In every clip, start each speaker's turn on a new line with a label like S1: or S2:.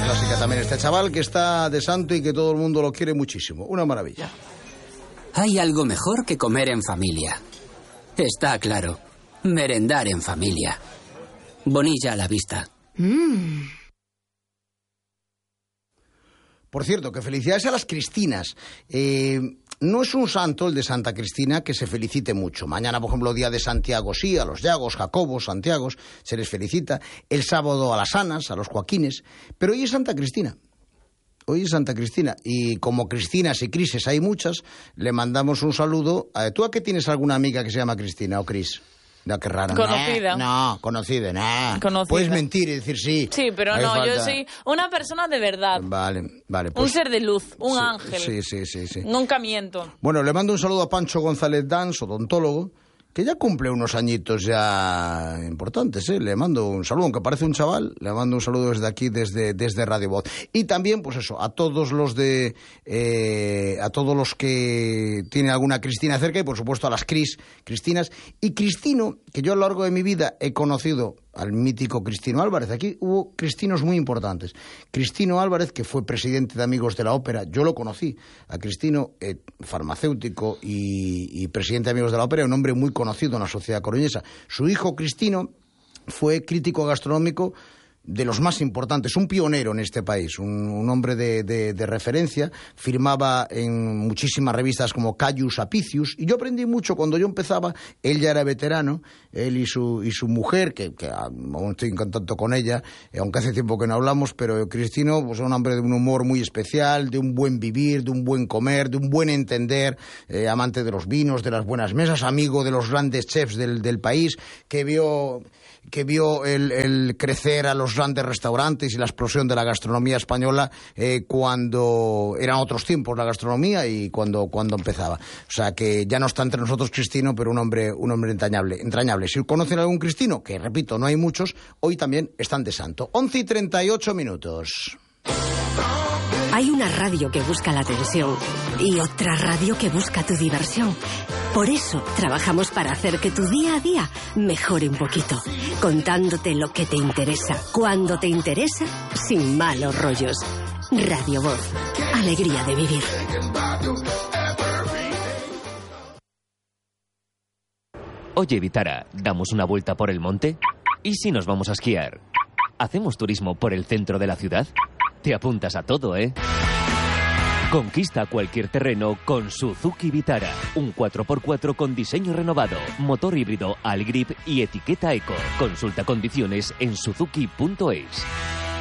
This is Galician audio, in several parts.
S1: clásica también este chaval que está de santo y que todo el mundo lo quiere muchísimo. Una maravilla.
S2: Hay algo mejor que comer en familia. Está claro. Merendar en familia. Bonilla a la vista.
S1: Por cierto, que felicidades a las Cristinas. No es un santo el de Santa Cristina que se felicite mucho. Mañana, por ejemplo, día de Santiago, sí, a los Llagos, Jacobos, Santiagos, se les felicita. El sábado a las Anas, a los Joaquines. Pero hoy es Santa Cristina. Hoy es Santa Cristina. Y como Cristinas y Crises hay muchas, le mandamos un saludo. ¿Tú a qué tienes alguna amiga que se llama Cristina o Cris? No, qué raro.
S3: Conocida.
S1: No, conocida, no.
S3: Conocida.
S1: Puedes mentir y decir sí.
S3: Sí, pero
S1: Hay
S3: no,
S1: falta.
S3: yo soy una persona de verdad.
S1: Vale. Pues,
S3: un ser de luz, un ángel.
S1: Sí.
S3: Nunca miento.
S1: Bueno, le mando un saludo a Pancho González Dans, odontólogo, que ya cumple unos añitos ya importantes, ¿eh? Le mando un saludo, aunque parece un chaval, le mando un saludo desde aquí, desde Radio Voz. Y también, pues eso, a todos los que tienen alguna Cristina cerca y, por supuesto, a las Cristinas. Y Cristino, que yo a lo largo de mi vida he conocido al mítico Cristino Álvarez. Aquí hubo cristinos muy importantes. Cristino Álvarez, que fue presidente de Amigos de la Ópera, yo lo conocí. A Cristino, farmacéutico y presidente de Amigos de la Ópera, un hombre muy conocido en la sociedad coruñesa. Su hijo Cristino fue crítico gastronómico de los más importantes, un pionero en este país, un hombre de referencia, firmaba en muchísimas revistas como Caius Apicius, y yo aprendí mucho cuando yo empezaba. Él ya era veterano, él y su mujer, que aún estoy en contacto con ella, aunque hace tiempo que no hablamos, pero Cristino, pues, es un hombre de un humor muy especial, de un buen vivir, de un buen comer, de un buen entender, amante de los vinos, de las buenas mesas, amigo de los grandes chefs del país, que vio el crecer a los grandes restaurantes y la explosión de la gastronomía española cuando eran otros tiempos la gastronomía y cuando empezaba. O sea, que ya no está entre nosotros Cristino, pero un hombre entrañable. Si conocen a algún Cristino, que repito, no hay muchos, hoy también están de santo. 11:38.
S4: Hay una radio que busca la atención y otra radio que busca tu diversión. Por eso trabajamos para hacer que tu día a día mejore un poquito, contándote lo que te interesa, cuando te interesa, sin malos rollos. Radio Voz, alegría de vivir.
S5: Oye, Vitara, ¿damos una vuelta por el monte? ¿Y si nos vamos a esquiar? ¿Hacemos turismo por el centro de la ciudad? Te apuntas a todo, ¿eh? Conquista cualquier terreno con Suzuki Vitara. Un 4x4 con diseño renovado, motor híbrido Algrip y etiqueta Eco. Consulta condiciones en suzuki.es.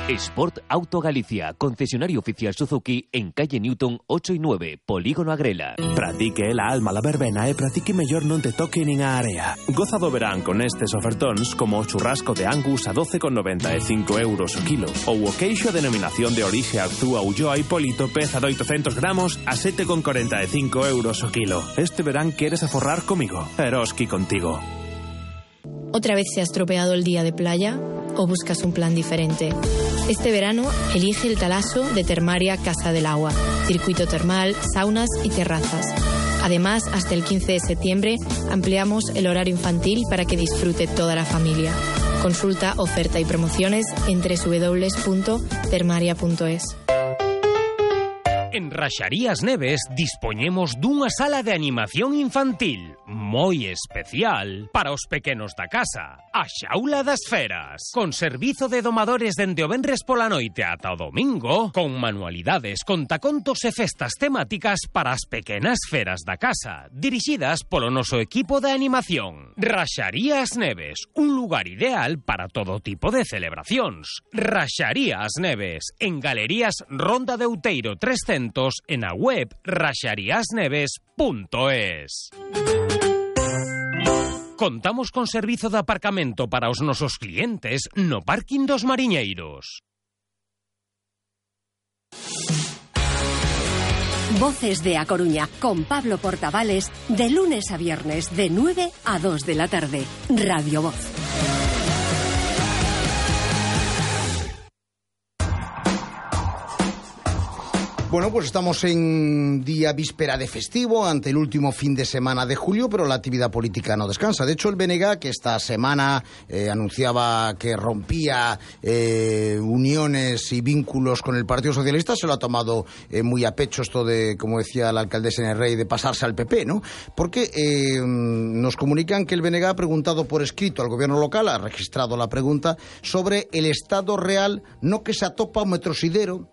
S5: Sport Auto Galicia, concesionario oficial Suzuki en calle Newton 8 y 9, Polígono Agrela.
S6: Pratique la alma la verbena e pratique mellor non te toque nin a area. Goza do verán con estes ofertóns como o churrasco de Angus a 12,95 euros o kilo ou o queixo a denominación de orixe Arzúa Ulloa Hipólito peza de 800 gramos a 7,45 euros o kilo. Este verán queres aforrar comigo. Eroski contigo.
S7: ¿Otra vez se ha estropeado el día de playa o buscas un plan diferente? Este verano elige el Talaso de Termaria Casa del Agua, circuito termal, saunas y terrazas. Además, hasta el 15 de septiembre ampliamos el horario infantil para que disfrute toda la familia. Consulta oferta y promociones en www.termaria.es.
S8: En Raxarías Neves dispoñemos dunha sala de animación infantil moi especial para os pequenos da casa, a Xaula das Feras, con servizo de domadores dende o venres pola noite ata o domingo, con manualidades, contacontos e festas temáticas para as pequenas feras da casa, dirixidas polo noso equipo de animación. Raxarías Neves, un lugar ideal para todo tipo de celebracións. Raxarías Neves, en Galerías Ronda de Outeiro 300, en a web raxariasneves.es. Contamos con servizo de aparcamento para os nosos clientes no parking dos Mariñeiros.
S4: Voces de A Coruña, con Pablo Portavales, de lunes a viernes, de 9 a 2 de la tarde. Radio Voz.
S1: Bueno, pues estamos en día víspera de festivo, ante el último fin de semana de julio, pero la actividad política no descansa. De hecho, el BNG, que esta semana anunciaba que rompía uniones y vínculos con el Partido Socialista, se lo ha tomado muy a pecho esto de, como decía la alcaldesa en el Rey, de pasarse al PP, ¿no? Porque nos comunican que el BNG ha preguntado por escrito al gobierno local, ha registrado la pregunta, sobre el estado real, no que se atopa un metrosidero,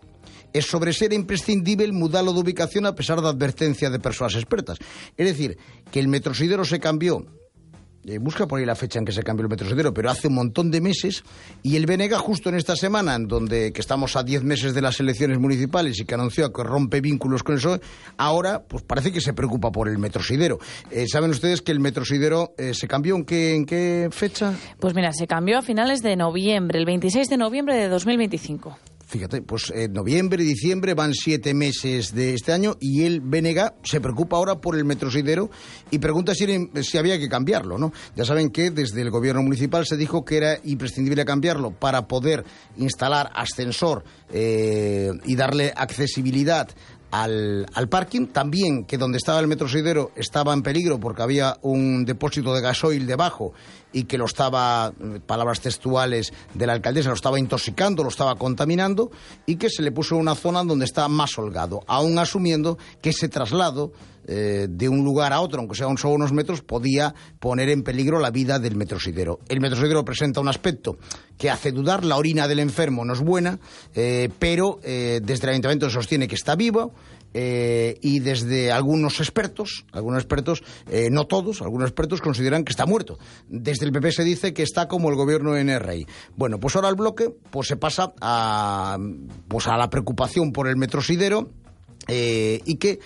S1: es sobre ser imprescindible mudarlo de ubicación a pesar de advertencia de personas expertas. Es decir, que el metrosidero se cambió, busca por ahí la fecha en que se cambió el metrosidero, pero hace un montón de meses, y el BNG justo en esta semana, en donde que estamos a 10 meses de las elecciones municipales y que anunció que rompe vínculos con el PSOE, ahora pues parece que se preocupa por el metrosidero. ¿Saben ustedes que el metrosidero se cambió en qué fecha?
S3: Pues mira, se cambió a finales de noviembre, el 26 de noviembre de 2025.
S1: Fíjate, pues noviembre y diciembre van 7 meses de este año y el BNG se preocupa ahora por el metrosidero y pregunta si había que cambiarlo, ¿no? Ya saben que desde el gobierno municipal se dijo que era imprescindible cambiarlo para poder instalar ascensor y darle accesibilidad al parking, también que donde estaba el metrosidero estaba en peligro porque había un depósito de gasoil debajo y que lo estaba, palabras textuales de la alcaldesa, lo estaba intoxicando, lo estaba contaminando, y que se le puso una zona donde está más holgado, aún asumiendo que ese traslado de un lugar a otro, aunque sea solo unos metros, podía poner en peligro la vida del metrosidero. El metrosidero presenta un aspecto que hace dudar, la orina del enfermo no es buena, pero desde el ayuntamiento se sostiene que está vivo, y desde algunos expertos, no todos, algunos expertos consideran que está muerto. Desde el PP se dice que está como el gobierno en el Rey. Bueno, pues ahora el bloque pues se pasa a la preocupación por el metrosidero, y que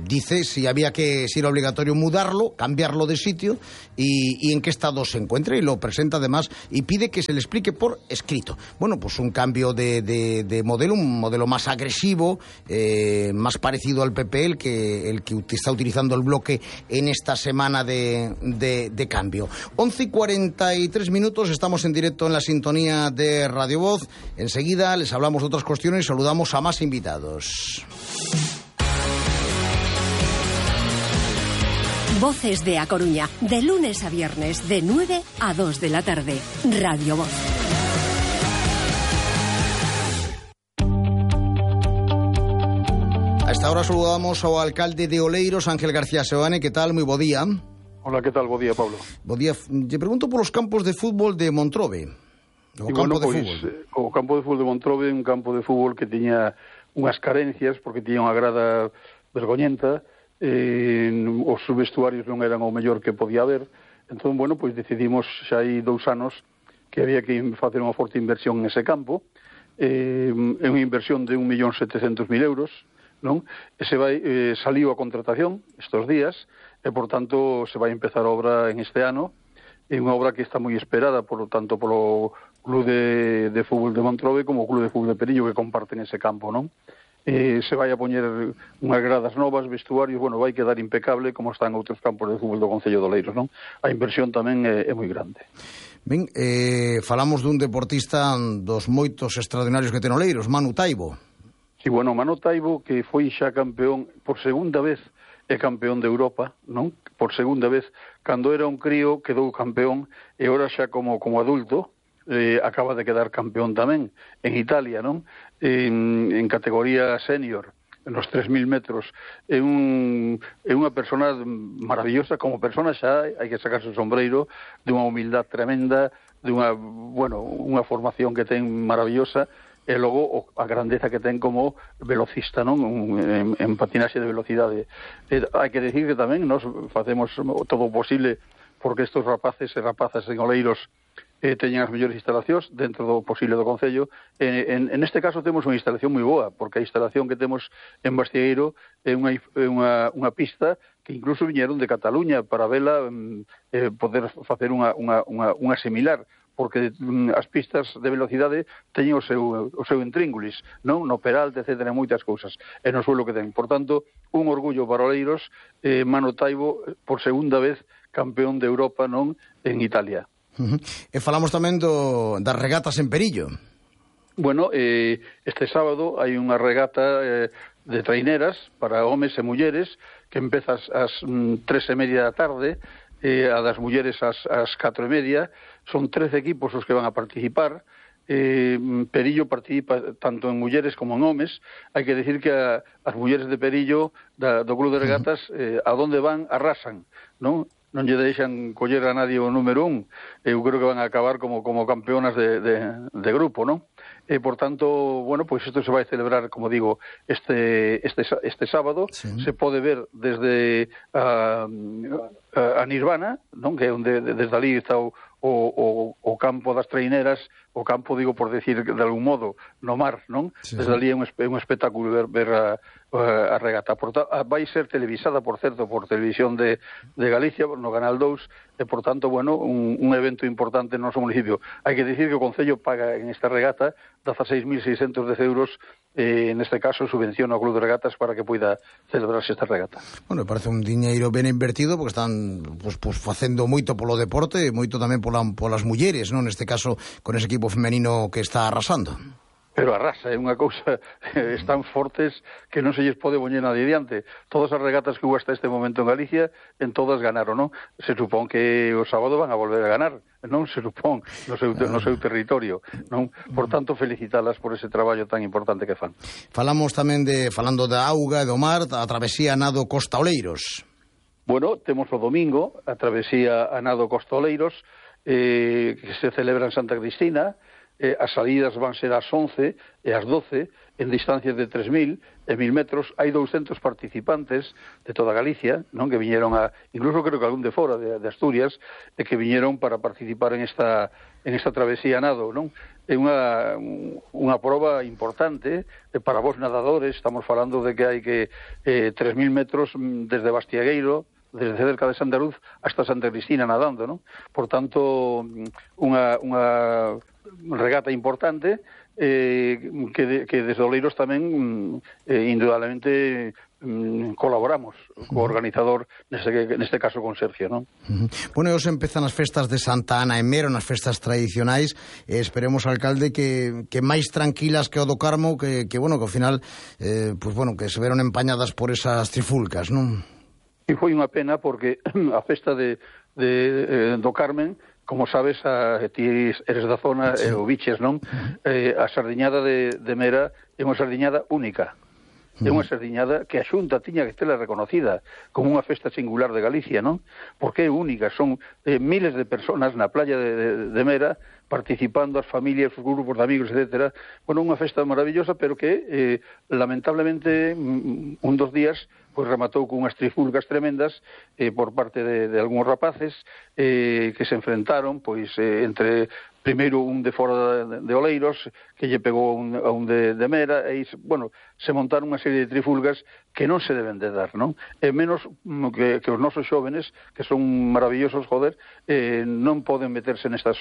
S1: dice si era obligatorio mudarlo, cambiarlo de sitio y en qué estado se encuentra, y lo presenta además y pide que se le explique por escrito. Bueno, pues un cambio de modelo, un modelo más agresivo, más parecido al PP, el que está utilizando el bloque en esta semana de cambio. 11:43, estamos en directo en la sintonía de Radio Voz. Enseguida les hablamos de otras cuestiones y saludamos a más invitados.
S4: Voces de A Coruña, de lunes a viernes, de 9 a 2 de la tarde. Radio Voz.
S1: A esta hora saludamos ao alcalde de Oleiros, Ángel García Seoane. Que tal? Moi bo día.
S9: Hola, que tal? Bo día, Pablo.
S1: Bo día. Lle pregunto polos campos de fútbol de Montrobe. O campo de
S9: fútbol de Montrobe, un campo de fútbol que tiña unhas carencias, porque tiña unha grada vergoñenta, os vestuarios non eran o mellor que podía haber. Entón, bueno, pois decidimos xa hai 2 anos que había que facer unha forte inversión nese campo. É unha inversión de 1.700.000 euros, non? Saliu a contratación estes días e, por tanto, se vai empezar a obra en este ano. É unha obra que está moi esperada tanto polo Club de Fútbol de Montrobe como o Club de Fútbol de Perillo, que comparten ese campo, non? Se vai a poñer unhas gradas novas, vestuarios, bueno, vai quedar impecable como están outros campos de fútbol do Concello de Oleiros, non? A inversión tamén é moi grande.
S1: Ben, falamos dun deportista dos moitos extraordinarios que ten Oleiros, Manu Taibo.
S9: Sí, bueno, Manu Taibo, que foi xa campeón por segunda vez, é campeón de Europa, non? Por segunda vez, cando era un crío quedou campeón, e ora xa como adulto acaba de quedar campeón tamén en Italia, non? En categoría senior, en los 3.000 metros. É unha persona maravillosa, como persona xa hai que sacarse o sombreiro, de unha humildad tremenda, de unha formación que ten maravillosa, e logo a grandeza que ten como velocista, non? En patinaxe de velocidade. Hai que decir que tamén nós facemos todo o posible porque estes rapaces e rapazas en Oleiros teñen as mellores instalacións dentro do posible do Concello. En este caso temos unha instalación moi boa, porque a instalación que temos en Bastieiro é unha pista que incluso viñeron de Cataluña para vela, poder facer unha similar, porque as pistas de velocidade teñen o seu intríngulis, non? No peralte, etcétera, moitas cousas, e no suelo que ten. Por tanto, un orgullo para Oleiros, Manu Taibo, por segunda vez, campeón de Europa, non? En Italia.
S1: E falamos tamén das regatas en Perillo.
S9: Bueno, este sábado hai unha regata de traineras para homes e mulleres que empeza ás 3:30 da tarde, a das mulleres ás 4:30. Son 13 equipos os que van a participar. Perillo participa tanto en mulleres como en homes. Hai que decir que as mulleres de Perillo do Club de Regatas a donde van arrasan, non lle deixan coller a nadie o número 1. Eu creo que van a acabar como campeonas de grupo, non? Por tanto, bueno, pues isto se vai celebrar, como digo, este sábado. Sí. Se pode ver desde a Nirvana, non? Que é onde desde ali está o campo das traineras, o campo, digo, por decir de algún modo, no mar, non? Sí. Desde ali é un espectáculo ver a regata. Vai ser televisada, por certo, por Televisión de Galicia, no Canal 2, e, por tanto, bueno, un evento importante no noso municipio. Hai que dicir que o Concello paga en esta regata 16.610 euros, neste caso, subvención ao Club de Regatas para que poida celebrarse esta regata.
S1: Bueno, parece un diñeiro ben invertido, porque están pues facendo moito polo deporte, moito tamén polas mulleres, non? Neste caso, con ese equipo femenino que está arrasando.
S9: Pero arrasa, é unha cousa, están fortes que non se lles pode poñer nadie diante. Todas as regatas que hubo hasta este momento en Galicia, en todas ganaron, non? Se supón que o sábado van a volver a ganar, non? Se supón, no seu territorio, non? Por tanto, felicitalas por ese traballo tan importante que fan.
S1: Falamos tamén falando da auga e do mar, a travesía nado Costa Oleiros.
S9: Bueno, temos o domingo, a travesía a nado Costa Oleiros, que se celebra en Santa Cristina. As salidas van ser ás 11 e ás 12 en distancias de 3.000 e 1.000 metros. Hai 200 participantes de toda Galicia, non? Que viñeron incluso creo que algún de fora de Asturias, e que viñeron para participar en esta travesía nado, non? É unha proba importante para vos nadadores. Estamos falando de que hai 3.000 metros desde Bastiagueiro, desde cerca de Santa Luz hasta Santa Cristina nadando, non? Por tanto, unha regata importante que desde Oleiros tamén indudablemente colaboramos co organizador, neste caso con Sergio, non?
S1: Bueno, hoxe empezan as festas de Santa Ana en Mero, nas festas tradicionais. Esperemos, alcalde, que máis tranquilas que o do Carmo, que bueno, que ao final que se veron empañadas por esas trifulcas, non?
S9: E foi unha pena porque a festa do Carmen, como sabes, ti eres da zona, sí. O biches, non? A sardiñada de Mera é unha sardiñada única. É unha sardiñada que a Xunta tiña que tela reconocida como unha festa singular de Galicia, non? Porque é única, son miles de personas na playa de Mera participando, as familias, os grupos de amigos, etc. Bueno, unha festa maravillosa, pero que lamentablemente un dos días pois rematou con unhas trifulgas tremendas por parte de algúns rapaces que se enfrentaron pois entre primeiro un de fora de Oleiros que lle pegou a un de Mera e bueno, se montaron unha serie de trifulgas que non se deben de dar, non? E menos que os nosos xóvenes, que son maravillosos, joder, non poden meterse nestas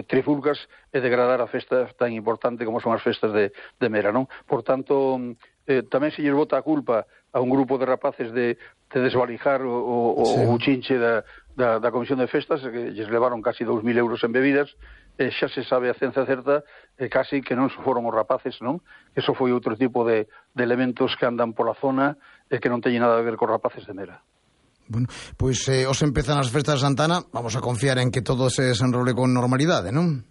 S9: trifulgas e degradar a festa tan importante como son as festas de Mera, non? Por tanto, tamén se lles bota a culpa a un grupo de rapaces de desvalijar o chinche da Comisión de Festas, que lles levaron casi 2.000 euros en bebidas. Xa se sabe a ciencia certa casi que non foron os rapaces, non? Eso foi outro tipo de elementos que andan pola zona e que non teñen nada a ver cos rapaces de Mera.
S1: Bueno, pois os empezan as festas de Santana, vamos a confiar en que todo se desenrole con normalidade, non?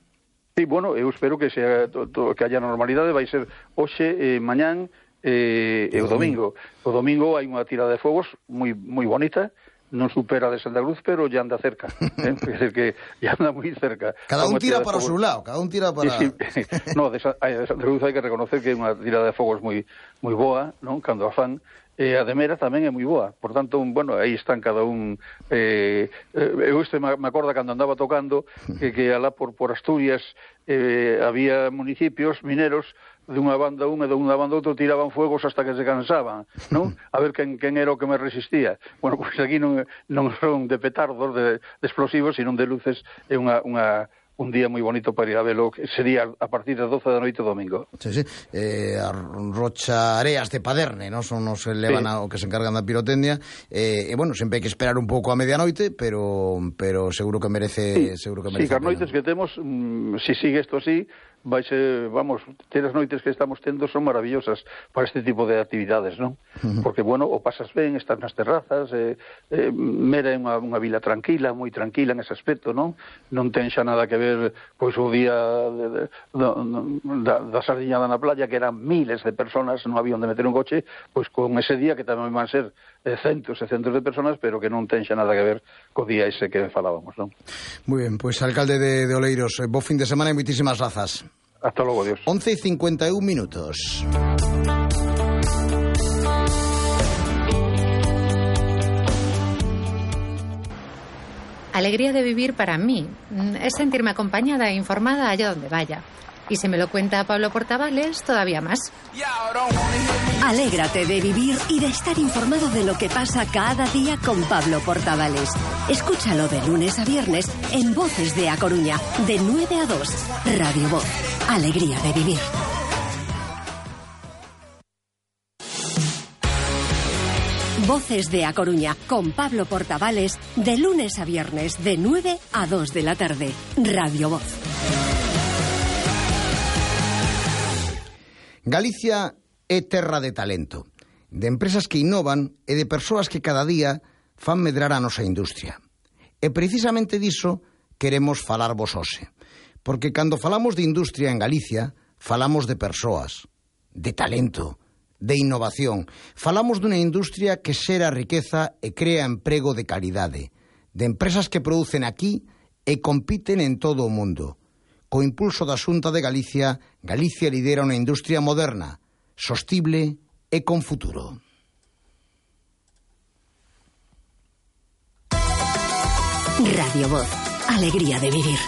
S9: Sí, bueno, eu espero que que haya normalidade. Vai ser hoxe, mañán e o domingo. O domingo hai unha tirada de fogos moi bonita, non supera de Santa Cruz, pero ya anda cerca, é dicir que ya anda moi cerca.
S1: Cada un tira para o seu lado, cada un tira para...
S9: Sí. No, de Santa Cruz hai que reconocer que é unha tirada de fogos moi boa, non? Cando a fan, a de Mera tamén é moi boa. Por tanto, bueno, aí están cada un... Eu me acordo cando andaba tocando que alá por Asturias había municipios mineros de unha banda e de unha banda outro tiraban fuegos hasta que se cansaban, non? A ver quen era o que me resistía. Bueno, pois aquí non son de petardos, de explosivos, sino de luces. É un día moi bonito para ir a velo, que sería a partir das 12 da noite domingo.
S1: Sí. A Rocha Areas de Paderne, non? Son os que levan o que se encargan da pirotecnia. E bueno, sempre hai que esperar un pouco a medianoite, pero seguro que merece...
S9: Sí, que as noites que temos, se sigue isto así, vamos, as noites que estamos tendo son maravillosas para este tipo de actividades, non? Porque, bueno, o pasas ben, estás nas terrazas, Mera é unha vila tranquila, moi tranquila nese aspecto, non? Non ten xa nada que ver, pois, o día da sardiñada na playa, que eran miles de personas, non había onde meter un coche, pois con ese día que tamén van ser centos e centos de personas, pero que non ten xa nada que ver co día ese que falábamos, non?
S1: Moi ben, pois alcalde de Oleiros, bo fin de semana e moitísimas grazas.
S9: Hasta logo, adiós.
S1: 11:51 minutos.
S10: Alegría de vivir para mí es sentirme acompañada e informada allá donde vaya. Y si me lo cuenta Pablo Portavales, todavía más.
S4: Alégrate de vivir y de estar informado de lo que pasa cada día con Pablo Portavales. Escúchalo de lunes a viernes en Voces de A Coruña, de 9 a 2. Radio Voz. Alegría de vivir. Voces de A Coruña, con Pablo Portavales, de lunes a viernes, de 9 a 2 de la tarde. Radio Voz.
S1: Galicia é terra de talento, de empresas que innovan e de persoas que cada día fan medrar a nosa industria. E precisamente diso queremos falarvos hoxe, porque cando falamos de industria en Galicia, falamos de persoas, de talento, de innovación. Falamos dunha industria que xera riqueza e crea emprego de calidade, de empresas que producen aquí e compiten en todo o mundo. Co impulso da Xunta de Galicia, Galicia lidera unha industria moderna, sostible e con futuro.
S4: Radio Voz. Alegría de vivir.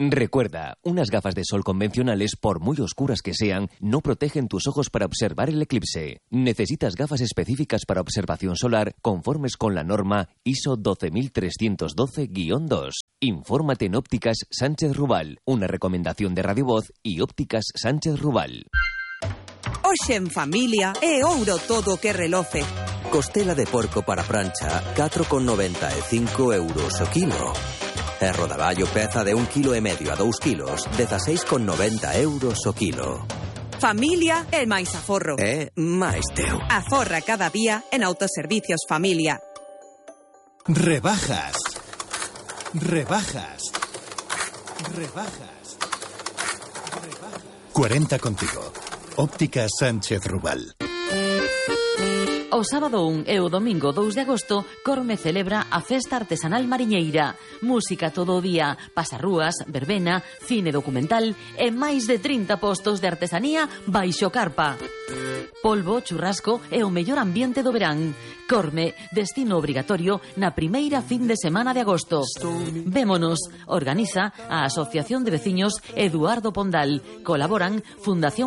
S5: Recuerda, unas gafas de sol convencionales, por muy oscuras que sean, no protegen tus ojos para observar el eclipse. Necesitas gafas específicas para observación solar conformes con la norma ISO 12312-2. Infórmate en Ópticas Sánchez Rubal, una recomendación de Radio Voz y Ópticas Sánchez Rubal.
S11: Hoxe en familia é ouro todo que reloce.
S12: Costela de porco para prancha, 4,95 euros o kilo. E rodaballo peza de 1,5 kg a 2 kilos, 16,90 euros o kilo.
S11: Familia é máis aforro.
S12: É máis teu.
S11: Aforra cada día en Autoservicios Familia.
S13: Rebajas. Rebajas. Rebajas. Rebajas. 40 contigo. Ópticas Sánchez Rubal.
S3: O sábado 1 e o domingo 2 de agosto, Corme celebra a Festa Artesanal Mariñeira. Música todo o día, pasarrúas, verbena, cine documental e máis de 30 postos de artesanía baixo carpa. Polvo, churrasco e o mellor ambiente do verán. Corme, destino obrigatorio na primeira fin de semana de agosto. Vémonos, organiza a Asociación de Veciños Eduardo Pondal. Colaboran Fundación